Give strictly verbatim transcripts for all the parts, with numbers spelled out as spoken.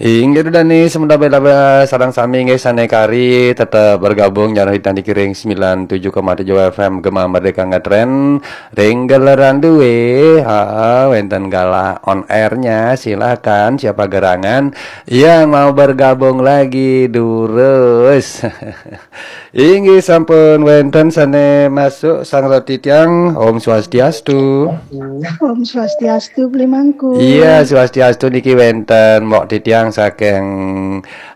Inggih Dani, semoga bela sareng sami nggih sane kari tetep bergabung nyarah hitani kiring sembilan tujuh koma tujuh F M Gema Merdeka Ngetren ring gelaran due. Ha, wenten galah on airnya, silakan siapa gerangan yang mau bergabung lagi durus. Inggih sampun wenten sane masuk sang roti tiang. Om Swastiastu. Om Swastiastu, Beli Mangku. Iya, Swastiastu niki wenten Mbok Titiang saking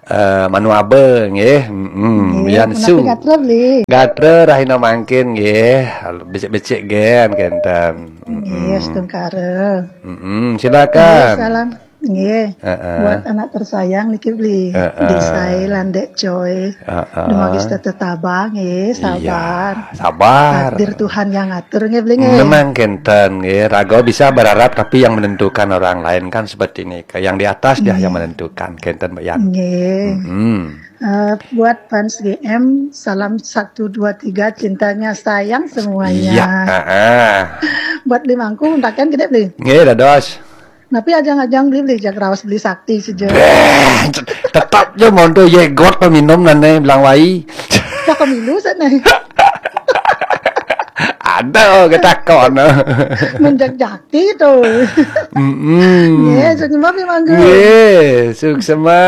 eh, Manuabe nggih. Mm-mm, Nggih, Yansu. Menawi gatra, Beli. Gatra rahina mangkin nggih. Becik-becik gen kenten. Nggih, astungkara. Mm-mm, silakan. Salam. Nggih. Heeh. Buat anak tersayang niki, Beli. Heeh. Disai lan Dek Joy. Heeh. Dumawi setata tabah nggih, sabar. Iya, sabar. Takdir Tuhan yang ngatur nggih, Beli nggih. Memang kenten nggih, raga bisa berharap tapi yang menentukan orang lain kan seperti ini. Yang di atas dia yang menentukan, kenten Mbak Yan. Nggih. Hmm. Eh, buat fans G M, salam satu dua tiga, cintanya sayang semuanya. Iya, heeh. Buat Beli Mangku, untakan gede, Beli. Nggih, dados. Tapi ajang-ajang, Beli, Beli, jak raos Beli Sakti saja. Beh, tetap je monto yegot peminum nane bilang wai. Cak pemilu sana. Ada ketakon. Menjak jati tuh. Mm-mm. Nggih, sukses Beli Mangku. Nggih, suksema.